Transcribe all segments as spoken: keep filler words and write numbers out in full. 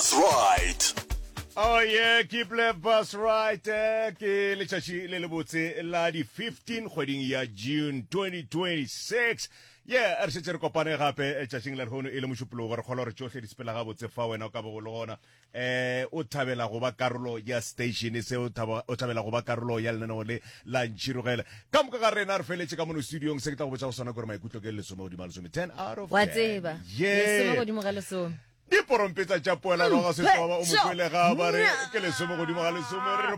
Bus Right. Oh yeah, keep left bus right. Eh, ke letšatši le lebotse la di fifteen kgweding ya June twenty twenty-six. Yeah, re šetše re kopane gape eh, tšatšing la lehono e le Mošupologo. Re kgolwa gore tšohle di sepela gabotse fa wena o ka bo go le gona. Eh, o thabela go ba karolo ya station se, o thaba o thabela go ba karolo ya lenaneo le la Ntšhirogele. Ka moka ga rena re feletše ka mono studiong. Se ke tla go botša go sona gore maikutlo ke lesome godimo ga lesome, ten out of ten. Wa tseba. Yeah. Lesome godimo ga lesome. Diporompetsa tša poelano ga setloba o mokwele ga ba re ke lesome godimo ga lesome, re re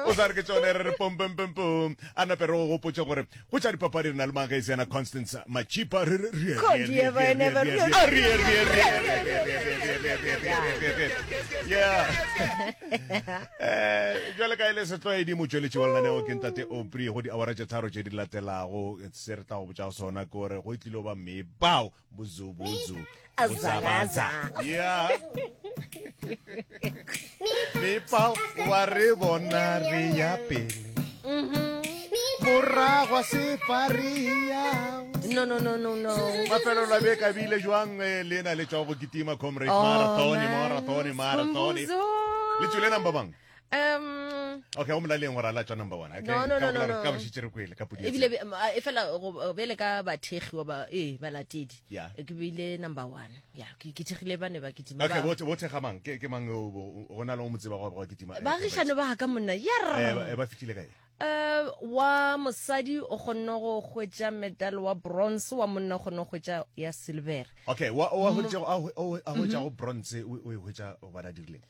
o sa re ke tsone, re re pom pom pom pom. A nape re go gopotse gore go tša dipapadi re na le magesi yana Constance Machipa, re re re yeah. Eh, jwale ka e le setlwaedi, motsweletši wa lenaneo ke ntate Opri go diawara tše tharo tše di latelago. Se re tla go botša sona ke gore go tlile ba mebao bozubuzu Azabaza. Yeah, mepao wa re bona re ya pele, morago se fa re ya. No, no, no, no, no. Mafelo la beka bile jwang eh, le na le tšwa go kitima Comrade Oh, Marathon? Man. Marathon, marathon. Skhumbuzo. Le tswile number bang? Um Okay, o molaleng gore a la tswa number one, okay? No, no, Ka no, bolela no, re- no. ka bošitše re kwele ka podi. Ebile be- a- e fela go- bjale ka bathekgi wa ba ee balatedi, Yeah. ke bile number one ya ke ke thekgile ba ne ba kitima. Okay, ba- bo bo thekga mang? Ke ke mang o o- go na le o mo tseba go go kitima, eh, Baagišane ba ka monna eh yer. ba- eh, ba fihlile kae? Eh, wa mosadi o kgonne go hwetša medal wa bronze, wa monna o kgonne go hwetša ya silver. Okay, wa wa hwetša a a hwetša go bronze, o o e hwetša go bana dirileng?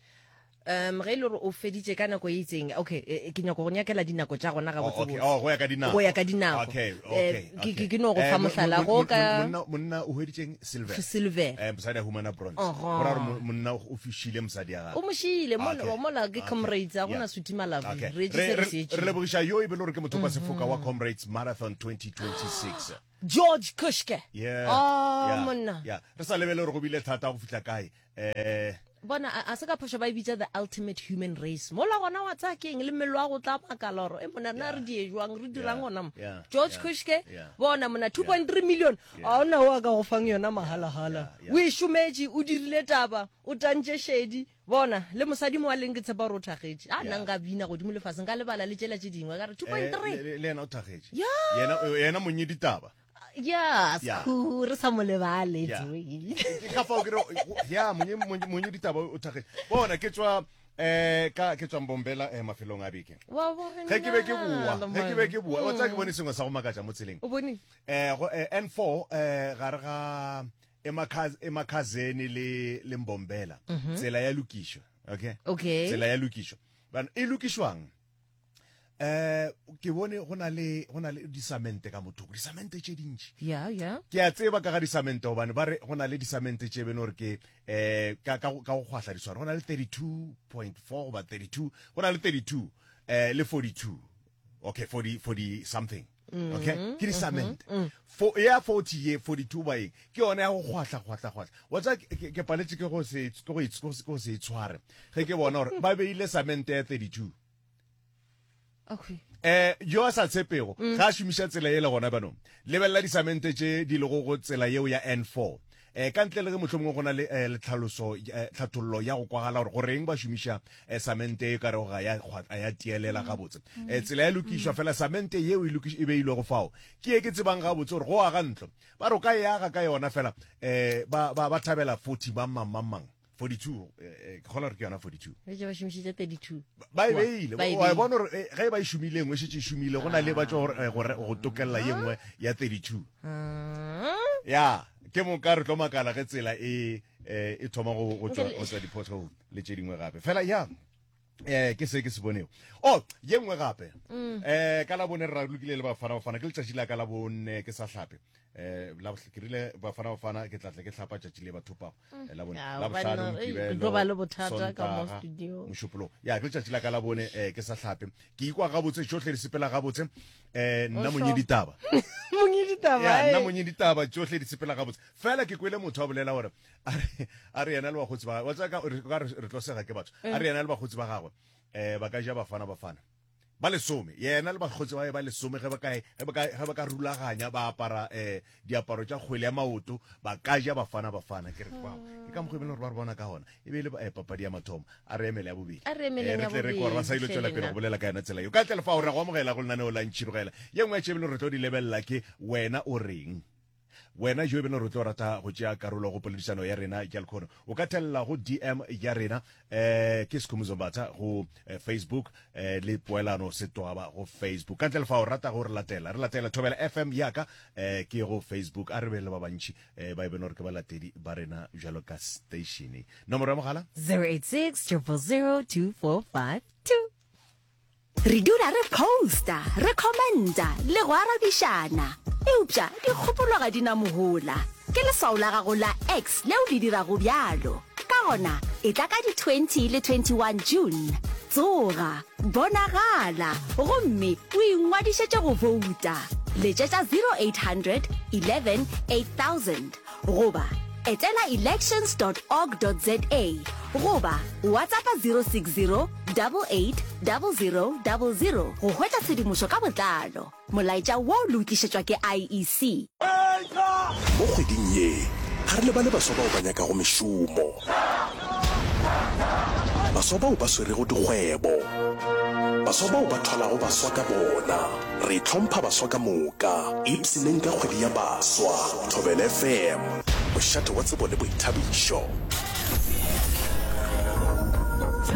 um ge e le gore o feditše ka nako e itseng, okay, eh, ke nyako go nyakela dinako tša gona Oh, okay. gabotsebotse. Oh, go ya ka dinako. Go ya ka dinako. Okay, Eh, okay. ke- okay. ke- ke no go Eh, fa mo- mohlala, mo- go mo- ka- monna monna o hweditšeng silver. Silver. Eh, mosadi a humana bronze. Oho. Go ra gore mo- monna o fišile mosadi ya O gagwe. mo šile mola. Okay. Mola ke Okay. Comrades a gona Yeah. suti malavi. Okay. Re etse Re se re re- se re lebogiša yo e be le gore ke motho wa sefoka wa Comrades Marathon twenty twenty-six. George Kushke. Yeah. Oh, yeah. monna. Yeah. Re sa lebele gore go bile thata go fihla kae. Eh Bona, a a se ka phošo ba e bitša the ultimate human race. Mola gona wa tsaya keng le mmele wa go tla makala gore e mona rena re die jwang, re dirang Yeah. gona mo. Yeah. George Yeah. Kushke. Yeah. Bona mona, two point three million, a ona o a ka go fang yona mahala-hala. Yeah. O e šometše, o dirile taba, o tantše šedi. Bona le mosadi mo a leng, ke tshepa gore o thagetše a nna nka bina godimo lefaseng ka lebala le tšela tše dingwe ka re two point three. Eh, le le yena o thagetše. Yeah. Yena yena monye ditaba. Ya. Yeah. Sku re sa mo lebale. Yeah. Joey. Ke ka fao ke re ya monye monye monye ditaba o thagetše. Bona, ke tswa eh ka ke tswa Mbombela eh mafelong a beke. Wa bona, Ge ke be ke boa, ge ke be ke boa, o tsaya ke Mm. bone sengwe sa go makatša mo tseleng. O bone? Eh go eh, N four eh gare ga Emakhaz Emakhazeni le le Mbombela. Tsela ya lokišwa, okay? Okay. Tsela ya lokišwa. Bana e lokišwang? Eh ke bone go na le go na le disamente ka mothoko, disamente tše dintši. Ya ya. Ke a tseba ka ga disamente gobane ba re go na le disamente tše bene gore ke eh ka ka go ka go kgwahla diswaro. Go na le thirty-two point four goba thirty-two, go na le thirty-two eh le forty-two. Okay, forty forty something. Okay, ke disamente. Fo ya forty ye forty-two ba eng? Ke yona ya go kgwahla kgwahla kgwahla. Wa tseba ke ke- ke paletse ke go se ke go e- ke go se- ke go se e tshware. Ge ke bona gore ba beile samente ya thirty-two. Okay. Eh yo a sa tshepego ga a šomiša tsela ye le gona banong, lebelela disamente tše di lego go tsela yeo ya N four, eh ka ntle le ge mohlomongwe go na le eh, le tlhaloso eh, tlhathollo ya go kwagala gore goreng ba šomiša eh, samente e ka rego ga ya kgwa- ga ya tielela gabotse. eh tsela ya lokišwa fela, samente yeo e lokiš- e beilwego fao ke e ke tsebang gabotse gore go aga ntlo ba re o ka e aga ka yona fela. eh ba ba ba thabela forty mang mang mang mang forty-two, eh, eh, ke kgona gore ke yona forty-two. Re ba šomišitše thirty-two. Ba e beile. Ba e wa e beile. bona gore eh, ge e ba e šomile, engwe e šetše e šomile, go na le ba tšwa gore, eh, gore go tokelela ye nngwe ya thirty-two. Ya ke moka re tlo makala ge tsela e eh, e thoma go go tšwa go tšwa di-pothole le tše dingwe gape fela. Ya eh ke se ke se bonego. Oh, ye nngwe gape, eh ka la bone re ralokile le Bafana Bafana. Ke letšatši la ka la bone ke sa hlape. eh la ke rile Bafana Bafana ke tla tle ke hlapa tšatši le ba thopago. Eh, la bone, Ya, la bohlano, banna, ei, Mokibelo, ke tlo ba le bothata ka mo Sontaga, studio. Mošupologo. Ya, ke letšatši la ka la bone eh ke sa hlape. Ke ikwa gabotse, tšohle di sepela gabotse. eh nna O monye sure? ditaba. Monye ditaba. Ya, nna eh. monye ditaba, tšohle di sepela gabotse. Fela ke kwele motho a bolela gore a re a re yena le bakgotsi ba gagwe, wa tseba ka re ka re re tlo sega ke batho, a re yena le bakgotsi ba gagwe eh ba ka ja Bafana Bafana. Ba lesome, yena le bakgotsi ba ba lesome ge ba ka ge ba ka ge ba ka rulaganya ba apara eh diaparo tša kgwele ya maoto ba ka ja Bafana Bafana. Ke re wow, ke ka mokgwa e bile gore ba re bona ka gona. E be e le eh, papadi ya mathomo. A re emele ya bobedi. A re emeleng Eh, re ya tle re kwe gore ba sa ile bobedi, tšwela pele hle go bolela ka yona tsela yeo. Ka ntle le fao re go amogela go lenaneo la Ntšhirogela. Ye nngwe ya tše e bile re tlo di lebelela ke wena o reng. Wena jo e bile re tlo rata go tšea karolo go poledišano ya rena ya lekgono, o ka thelela go D M ya rena eh ke Sekhumuzo Mbatha go eh, Facebook eh, le Poelano Setwaba go Facebook. Ka ntle le fao rata go re latela, re latela Thobela F M yaka eh, ke go Facebook. A re be le ba bantši eh, ba e bene gore ke balatedi ba rena bjalo ka station. Nomoro ya mogala zero eight six zero zero zero two four five two. Re dula re posta, re commenta le go arabišana, eupša dikgopolo ga di na mohola. Ke leswao la gago la X leo le dirago bjalo. Ka gona, etla ka di twenty le twenty-one June. Tsoga, bonagala gomme o ingwadišetše go bouta. Letšetša zero eight hundred eleven eight thousand goba etela elections dot org dot za goba WhatsApp zero six zero eight eight zero zero zero zero go hwetša tshedimošo ka botlalo. Molaetša wo le o tlišetšwa ke I E C. Mo kgweding ye ga re lebale baswa bao ba nyakago mešomo, baswa bao ba swerego dikgwebo, baswa bao ba thwalago baswa ka bona. Re hlompha baswa ka moka. Ipshineng ka kgwedi ya baswa. Thobela F M, mošate wa tsebo le boithabišo.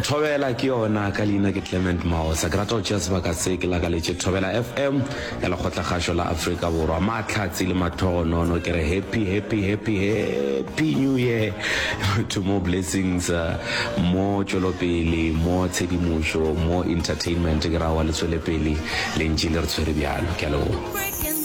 Thobela ke yona, ka leina ke Clement Maosa. Ke rata go tšea sebaka se ke lakaletše Thobela F M ya Lekgotlakgašo la Afrika Borwa mahlatse le mahlogonono. Ke re happy, happy, happy, happy new year to more blessings, uh, mo tšwelopele, mo tshedimošo, mo entertainment. Ke ra wa le tswele pele le ntše le re tshwere bjalo. Ke a leboga.